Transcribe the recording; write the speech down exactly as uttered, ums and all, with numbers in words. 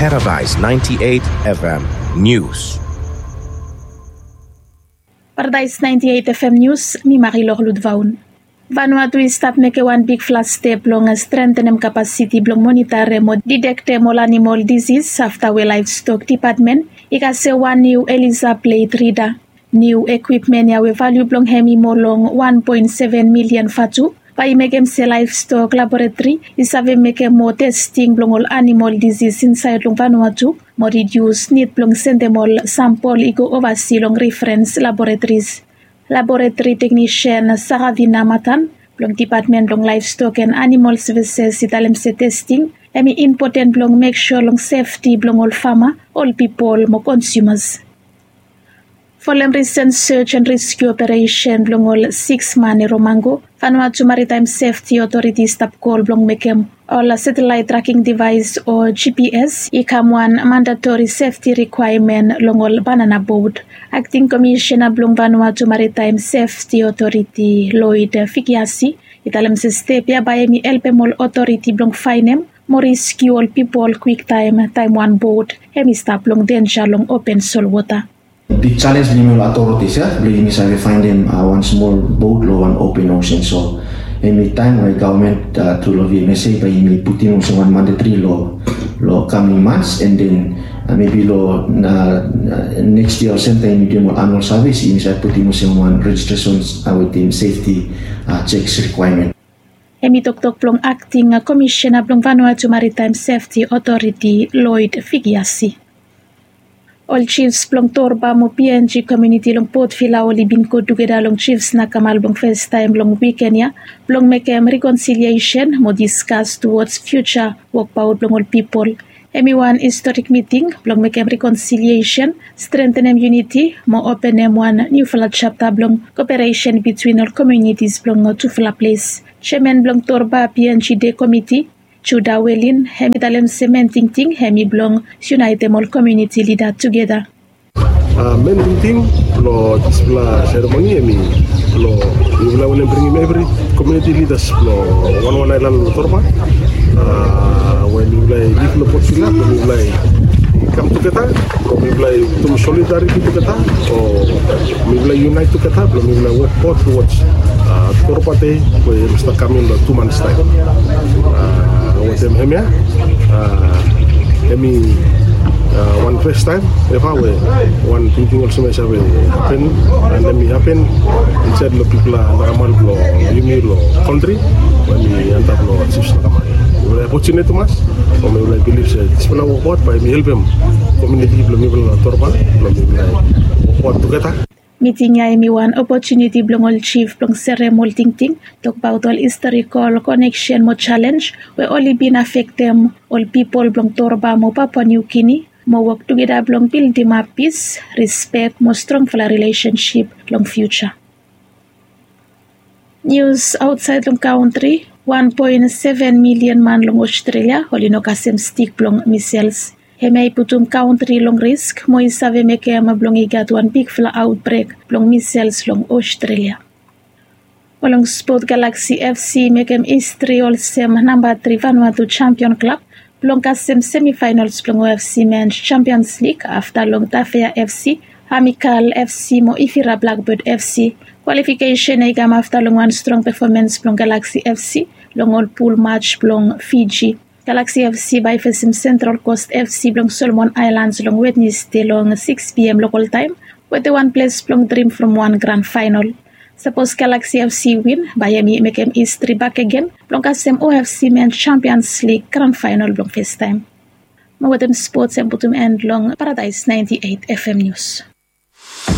Paradise ninety-eight F M News. Paradise ninety-eight F M News, mi Marilor Ludvaun. Vanuatu i stap mekem wan bigfala step blong strengthenem kapasiti blong monitarem o didektem ol animal disis afta we Livestock Department i kasem wan niu ELISA plate reader. Niu ekwipmen ya we valiu blong hem i moa long wan poen seven milian vatu bae i mekem se Livestock Laboratory i save mekem moa testing blong ol animal disis insaed long Vanuatu mo ridius nid blong sendem ol sampol i go ovasi long referens laboratories. Laboratory teknisian Saravina Matan blong Dipatmen blong Laevstok and Animal Sevises i talem se testing hem i impoten blong mek sua long sefti blong ol fama, ol pipol mo konsumas. Folem risen sej and reskiu operesen blong ol siks man i Romango, Vanuatu Maritime Sefti Otoriti i stap kol blong mekem ol satelaet traking devaes o GPS i kam wan mandatori sefti rikwaemen long ol banana bot. Akting Komisena blong Vanuatu Maritime Sefti Otoriti, Lloyd Fikiasi, i talem se step ya bae hem i helpem ol otoriti blong faenem mo reskiu ol pipol kwiktaem taem wan bot hem i stap long denja long open solwota. Big challenge blong yumi ol authorities ya blong yumi save faenem wan smol bot long wan open ocean. So hem i taem we gavman tru long V M S A bae yumi putim olsem wan mandatory long coming months, and then mebi long next year olsem taem yumi duim ol annual service yumi save putim olsem wan registration wetem safety checks requirement. Hem i toktok blong Akting Komisena blong Vanuatu Maritime Sefti Otoriti, Lloyd Fikiasi. Ol jifs blong Torba mo PNG komuniti long Port Vila oli bin go tugeta long jifs nakamal blong festaem long wiken ya blong mekem rikonsiliesen mo diskas tuwods fiuja wokbaot blong ol pipol. Hem i wan historik miting blong mekem rikonsiliesen, strentenem yuniti mo openem wan niufala japta blong koperesen bitwin ol komunitis blong tufala ples. Jeaman blong Torba PNG Dei Komiti, Juda Welin, hem i talem se men tingting hem i blong yunaetem ol komuniti lida tugeta. Men tingting blong disfala seremoni hem i blong mifala wantem bringim evri komuniti lidas blong wanwan aelan long Torba, we mifala i lif long Port Vila blong mifala i kam tugeta blong mifala i putum solidariti tugeta o mifala i yunaet tugeta blong mifala i wokbaot tuwods Torba Dei we hem i stap kaming long tu mans taem. Wetem hemia hem i wan festaem eva we wan tingting olsem ya i save hapen, and hem i hapen insaed long bigfala nakamal blong yumi long kantri we hem i antap long jifs nakamal. Mifala i opotuniti tumas o mifala i bilif se disfala wokbaot bae hem i helpem komuniti blong mifala long Torba blong mifala i wokbaot tugeta. Miting ya hem i wan opotuniti blong ol jif blong serem ol tingting, tokbaot ol historikol koneksen mo jalenj we oli bin afektem ol pipol blong Torba mo Papua Niu Gini mo wok tugeta blong bildimap pis, rispek mo strongfala rilesensip long fiuja. Nius aotsaed long kantri, wan poen seven milian man long Ostrelia oli no kasem stik blong misels. Hemia i putum kantri long risk mo i save mekem blong i gat wan bigfala aotbrek blong misels long Ostrelia. Mo long spot, Galaxy FC i mekem histri olsem namba tri Vanuatu jampion klab blong kasem semifaenols blong OFC Men's Champions League afta long Tafea FC, Amikal FC mo Ifira Blackbird FC. Kwalifikesen ya i kam afta long wan strong pefomans blong Galaxy FC long ol pul maj blong Fiji. Galaxy FC bae i fesem Central Coast FC blong Solomon Aelans long Wednesde long siks P M lokol taem, wetem wan ples blong drim from wan gran faenol. Sapos Galaxy FC i win bae hem i mekem histri bakegen blong kasem OFC Men's Champions League gran faenol blong festaem. Mo wetem spots hem putum en long Paradise ninety-eight F M News.